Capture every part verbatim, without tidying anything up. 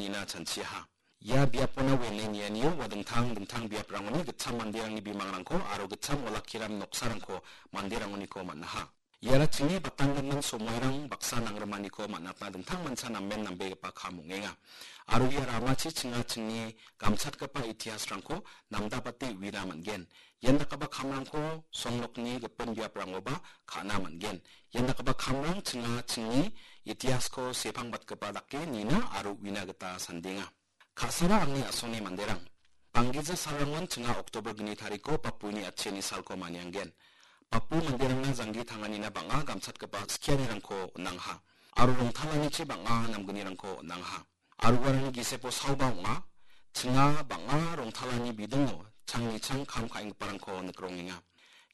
ina chanchiaha. Ia biapona uiani nianio ua dingtang dingtang biaprangoni gitcham manderangni bimangrangko aro gitcham olakkiram noksarangko manderangoniko man·aha. Iara chingni batanggimin somoirang baksa nangrimaniko man·atna dingtang mancha namen nambegipa kam ong·enga. Aro ia ramachi chinga chingni gamchatgipa itihasrangko namdapate uina man·gen. Ian dakgipa kamrangko songnokni gipin biaprangoba ka·na man·gen. Ian dakgipa kamrang chinga chingni itihasko sepangbatgipa dake nina aro uina gita sandenga. Ka·sara angni a·songni manderang. Banggija salrangon chinga Oktober gni tariko Bapuni atchiani salko manianggen. Bapu manderangna janggi tanganina bang·a gamchatgipa skianirangko on·angha. Aro rongtalanichi bang·a namgnirangko on·angha. Aro uarangni gisepo saoba ong·a. Chinga bang·a rongtalani bidingo changni chang kam ka·enggiparangko nikrongenga.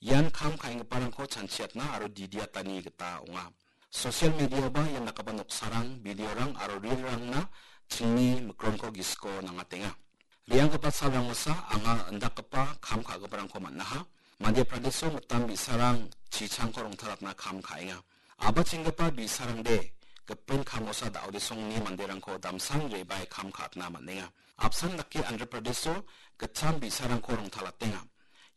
Ian kam ka·enggiparangko chanchiatna aro didiatani gita ong·a. Social mediaoba ian dakgipa noksarang, videorang aro reelrangna chingni mikronko gisiko nangatenga. Re·anggipa salrangosa anga indakgipa kam ka·giparangko man·aha. Madhya Pradesh-o mitam bi·sarang chichangko rongtalatna kam ka·enga. Abachenggipa bi·sarangde gipin kamosa da·odesongni manderangko damsan re·bae kam ka·atna man·enga. Apsan dake Andhra Pradesh-o gitcham bi·sarangko rongtalatenga.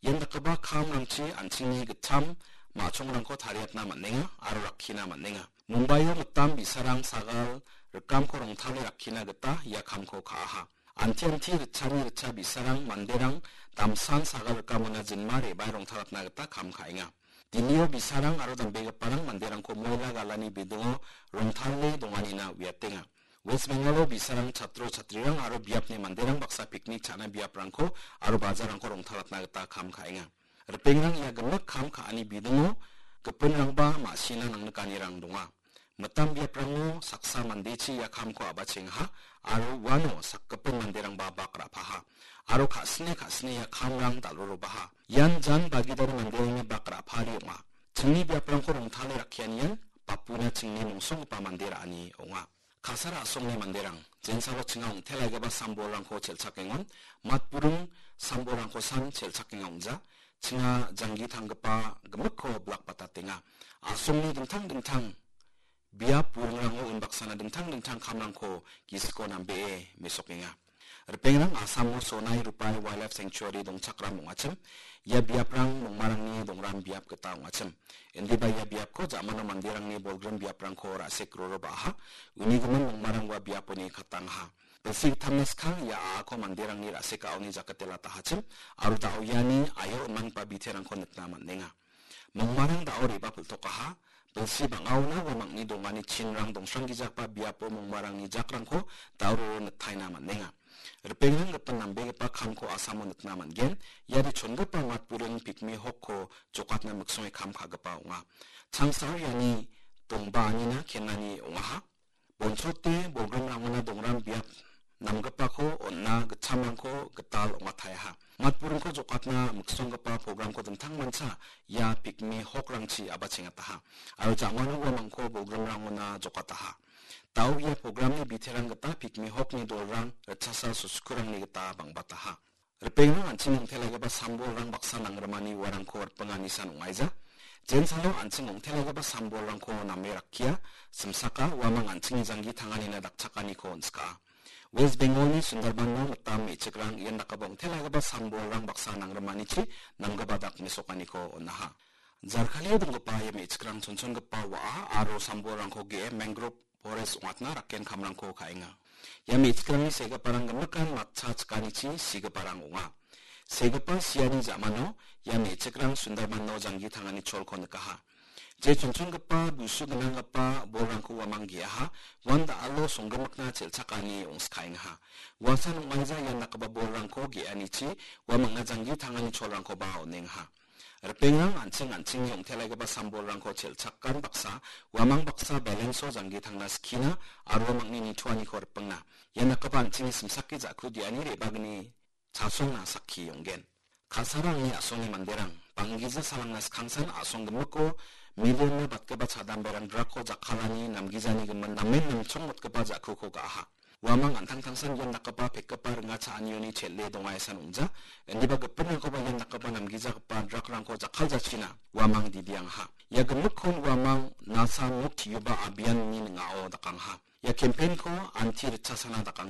Ian dakgipa kamrangchi an·chingni gitcham ma·chongrangko tariatna man·enga aro rakkina man·enga. Mumbaio mitam bi·sarang sagal rikamko rongtale rakkina gita ia kamko ka·aha. Anti-anti ritchani ritcha bi·sarang manderang damsan sagal rikamona jinma re·bae rongtalatna gita kam ka·enga. Dillio bi·sarang aro dambegiparang manderangko moila galani bidingo rongtale donganina uiatenga. West Bengal-o bi·sarang chatro chatrirang aro biapni manderang baksa piknik cha·na biaprangko aro bajarrangko rongtalatna gita kam ka·enga. Ripengrang ia gimik kam ka·ani bidingo gipinrangba ma·sina nangnikanirang donga. Mitam biaprango saksa mandechi ia kamko abachengaha aro uano sakgipin manderangba bak ra·paha aro ka·sine ka·sine ia kamrang dal·rorobaha. Ian jan bagidani manderangni bak ra·pari ong·a. Chingni biaprangko rongtale rakkianian bapuna chingni mongsonggipa mande ra·ani ong·a. Kasara a·songni manderang, jensalo chinga ong·telaigipa sambolrangko chelchakengon, matburing sambolrangkosan chelchakenga ong·ja, chinga janggi tanggipa gimikko bilakbatatenga. A·songni dingtang dingtang biap buringrango unbaksana dingtang dingtang kamrangko gisiko nambee mesokenga. Ripengrang Asamo Sonai Rupai Wildlife Sanctuary dongchakram ong·achim. Ia biaprang mongmarangni dongram biap gita ong·achim. Indiba ia biapko ja·mano manderangni bolgrim biaprangko ra·sek roroba·aha. Unigimin mongmarang ua biaponi katangaha. Bilsi gittamna skang ia a·ako manderangni ra·sekaoni jakate latahachim. Aro da·o iani aio on·manigipa biterangko nikna man·enga. Mongmarang da·o re·bapiltokaha. Bilsi bang·aona uamangni dongani chinrang dongsranggijagipa biapo mongmarangni jakrangko da·o roro nitaina man·enga. Ripengrang gipin nambegipa kamko Asamo nikna man·gen. Iani chongipa matburing Pygmy Hawk-ko jokatna miksonge kam ka·gipa ong·a. Changsao iani dongbaanina kenani ong·aha. Bonchote bolgrimrangona dongram biap namgipako on·na gitchamrangko gital ong·ataeha. Matburingko jokatna miksonggipa programko dingtang mancha ia Pygmy Hawk-rangchi abachengataha. Aro ja·mano uamangko bolgrimrangona jokataha. Da·o ia programni biterang gita Pygmy Hawk-ni dolrang ritchasa susukurangni gita bang·bataha. Ripengrang an·ching ong·telaigipa sambolrang baksa nangrimani uarangko ripengani san ong·aija. Jensalo an·ching ong·telaigipa sambolrangko name rakkia, simsaka uamang an·chingni janggi tanganina dakchakaniko on·skaa. West Bengalni Sundarban-o mitam me·chikrang ian dakgipa ong·telaigipa sambolrang baksa nangrimanichi namgipa dak mesokaniko on·aha. Jarkalio donggipa ia me·chikrang chonchongipa wa·a aro sambolrangko ge·e mangrove forest ong·atna rakken kamrangko ka·enga. Ia me·chikrangni segiparang gimikan matcha chikanichi sigiparang ong·a. Segipa siani ja·mano ia me·chikrang Sundarban-o janggi tangani cholko nikaha. Je chonchongipa busu gnanggipa bolrangko uamang ge·aha, uan da·alo songgimikna chelchakani ong·skaengaha. Uasan ong·aija ian dakgipa bolrangko ge·anichi uamangna janggi tangani cholrangkoba on·engaha. Ripengrang an·ching an·chingni ong·telaigipa sambolrangko chelchakan baksa, uamang baksa balance-o janggi tangna skina aro uamangni nitoaniko ripengna. Ia dakgipa an·chingni simsake ja·ku diani re·bagni chasongna sakki ong·gen. Kasara angni a·songni manderang, banggija salangna skangsan a·song gimiko million-na batgipa chadamberang drug-ko jakkalani namgijani gimin namen namchongmotgipa ja·kuko ga·aha. Uamang an·tangtangsan ian dakgipa pekgipa ringa cha·anioni chel·e dongaesan ong·ja. Indiba gipinrangkoba ian dakgipa namgijagipa drug-rangko jakkaljachina uamang didiangaha. Ia gimikkon uamang Nasha Mukt Yuva Abhiyan-ni ning·ao dakangaha. Ia campaign-ko anti ritchasana dakang